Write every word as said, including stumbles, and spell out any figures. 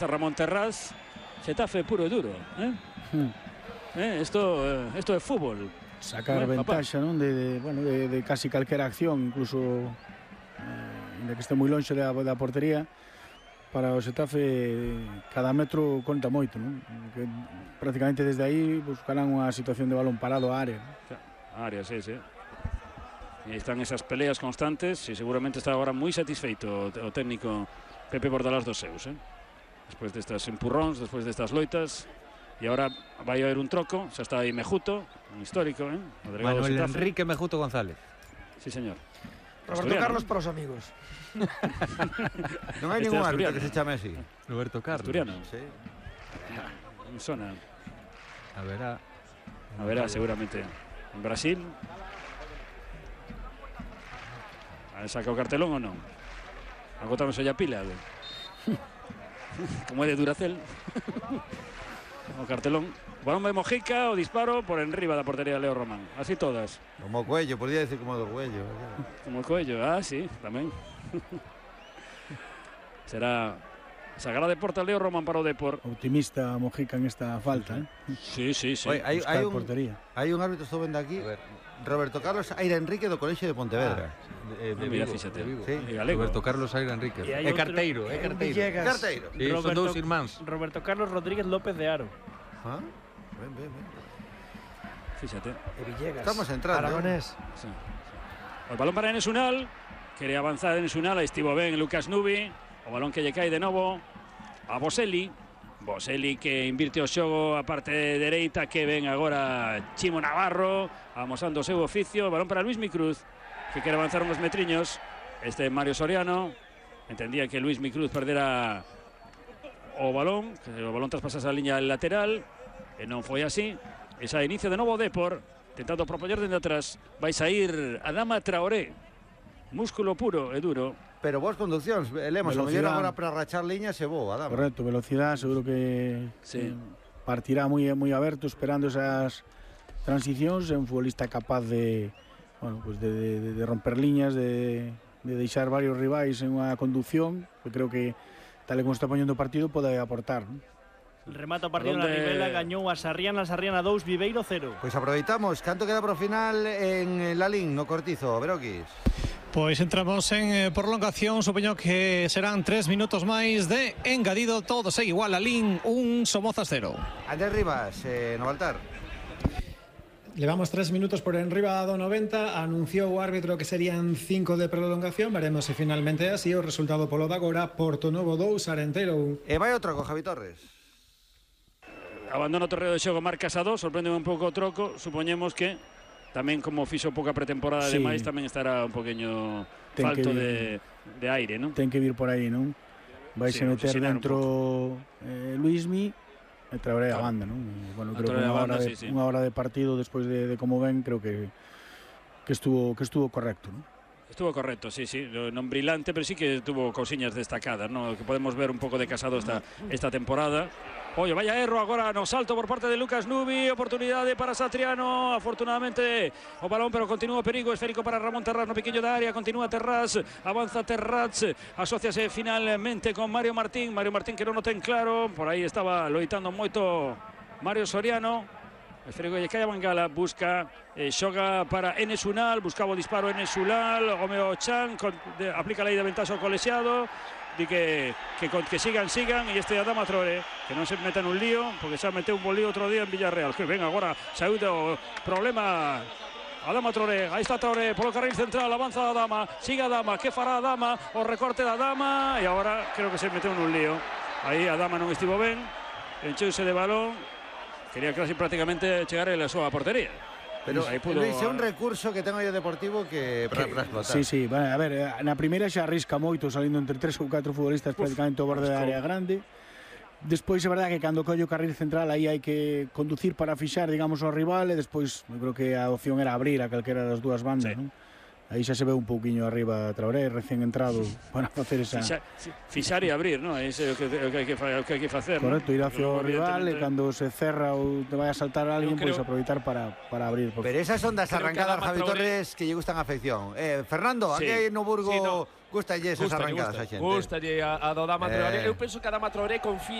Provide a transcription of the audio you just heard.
Ramón Terrás, Xetafe puro e duro, eh? Hmm. Eh, esto, eh, esto é fútbol. Sacar bueno, ventaxa, non? De, de, bueno, de, de casi calquera acción, incluso eh, de que este moi lonxe da, da portería. Para o Xetafe cada metro conta moito, non? Que prácticamente desde aí buscarán unha situación de balón parado a área. A área, sí, sí. E están esas peleas constantes e seguramente está agora moi satisfeito o técnico Pepe Bordalás dos seus, eh? Despois destas empurróns, despois destas loitas. E agora vai haber un troco, xa está aí Mejuto, un histórico, eh? Manuel Enrique Mejuto González. Sí, señor. Roberto Carlos para os amigos. Non hai ningún árbitro que se chame así. Roberto Carlos. Asturiano. Sí. Me sona. A verá. A verá, seguramente. En Brasil. A saca o cartelón ou non? Agotamos a pila. Como é de Duracell. O cartelón. Balón de Mojica, o disparo por enriba da portería de Leo Román. Así todas. Como Cuello, podría decir como do Cuello. Como Cuello, ah, sí, tamén. Será sagrada de porta Leo Román para o Depor. Optimista Mojica en esta falta, eh? Sí, sí, sí. Oye, hai, hai, un, portería. hai un árbitro, estou vendo aquí, Roberto Carlos Aira Enrique do Colexio de Pontevedra. Ah, de, de ah, mira, Vigo, fíxate. de Vigo. Sí. Roberto Carlos Aira Enrique. É carteiro, é carteiro. Carteiro. Sí, son dous irmáns. Roberto Carlos Rodríguez López de Aro. Ah, ben, ben, ben. Fíxate. E Villegas. Estamos entrando. Aragonés. Sí, sí. O balón para Enes Unal. Quere avanzar Enes Unal. Aí estivo ben Lucas Nubi. O balón que lle cae de novo a Boselli. Boselli que invirte o xogo a parte dereita, que ven agora Chimo Navarro amosando o seu oficio. O balón para Luismi Cruz, que quere avanzar uns metriños. Este Mario Soriano entendía que Luismi Cruz perdera o balón, que o balón traspasase a liña lateral, e non foi así. E xa inicio de novo o Depor, tentando propoñer dende atrás. Vai sair Adama Traoré, músculo puro e duro. Pero vos conduccións, Lemos, a mellor agora para rachar liñas e bo, Adama. Correcto, velocidade, seguro que sí. Partirá moi moi aberto esperando esas transicións, é un futbolista capaz de, bueno, pues de, de, de romper liñas, de, de deixar varios rivais en unha conducción, que creo que tal e como está poñendo o partido pode aportar, ¿no? Remata o partido na Ribela, gañou a Sarriana, Sarriana dous, Viveiro cero. Pois aproveitamos, canto queda pro final en Lalín, no Cortizo, Veroquis. Pois entramos en eh, prolongación, supoño que serán tres minutos máis de engadido, todo segue igual, Lalín un, Somozas cero. Andrés Rivas, eh, no Baltar. Levamos tres minutos por enriba do noventa, anunciou o árbitro que serían cinco de prolongación, veremos se finalmente é así o resultado polo de agora, Porto Novo dous, Arenteiro un. E vai outro con Javi Torres. Abandona o terreo de xogo, marcas a dos, sorprende un pouco o troco, supoñemos que tamén como fixo pouca pretemporada sí. de máis, tamén estará un poqueño ten falto de, de aire, non? Ten que vir por aí, non? Vai sí, se meter dentro eh, Luismi e Traoré claro. a banda, non? Bueno, creo que unha hora, de, sí, sí. unha hora de partido despois de, de como ven, creo que que estuvo que estuvo correcto, non? Estuvo correcto, sí, sí, non brillante, pero sí que tuvo cousiñas destacadas, ¿no? Que podemos ver un pouco de Casado esta, esta temporada. Oye, vaya erro agora no salto por parte de Lucas Nubi, oportunidade para Satriano, afortunadamente o balón, pero continúa o perigo esférico para Ramón Terrás no piquiño da área, continúa Terrás, avanza Terrás, asociase finalmente con Mario Martín, Mario Martín que non o ten claro, por aí estaba loitando moito Mario Soriano. Esférico lle cae a Bangala, busca, eh, xoga para Enes Unal, buscaba o disparo Enes Unal, Homeo Chan, con, de, aplica a lei de ventaxa ao colexiado, di que, que, que sigan, sigan, e este Adama Traoré, que non se meta nun lío, porque xa meteu un bolío outro día en Villarreal, que ven agora, saiu do problema Adama Traoré, aí está Traoré, polo carril central, avanza Adama, siga Adama, que fará Adama, o recorte da Adama, e agora creo que se meteu nun lío, aí Adama non estivo ben, encheuse de balón, quería casi prácticamente chegar a súa portería. Pero aí pudo... Luis, é un recurso que ten o Deportivo que para explotar. Sí, sí, bueno, a ver, na primeira xa arrisca moito salindo entre tres ou catro futbolistas Uf, prácticamente ao borde da área grande. Despois é verdade que cando colle o carril central aí hai que conducir para fixar, digamos, ao rival, e despois eu creo que a opción era abrir a calquera das dúas bandas, sí. Non? Aí xa se ve un pouquiño arriba Traoré, recén entrado, para facer esa... Fixar, fixar e abrir, non? É iso que, que, que, que hai que facer. Correcto, ¿no? ir hacia o rival e cando se cerra ou te vai a saltar a alguén, pois pues, aproveitar para, para abrir. Pero esas son das arrancadas, Javi Torres, que lle gustan a afección. Eh, Fernando, sí. aquí no Burgo sí, no. Gustalle esas Gustalle, arrancadas gusta. a xente. Gustalle a, a do Dama Traoré. Eh. Eu penso que a Dama Traoré confía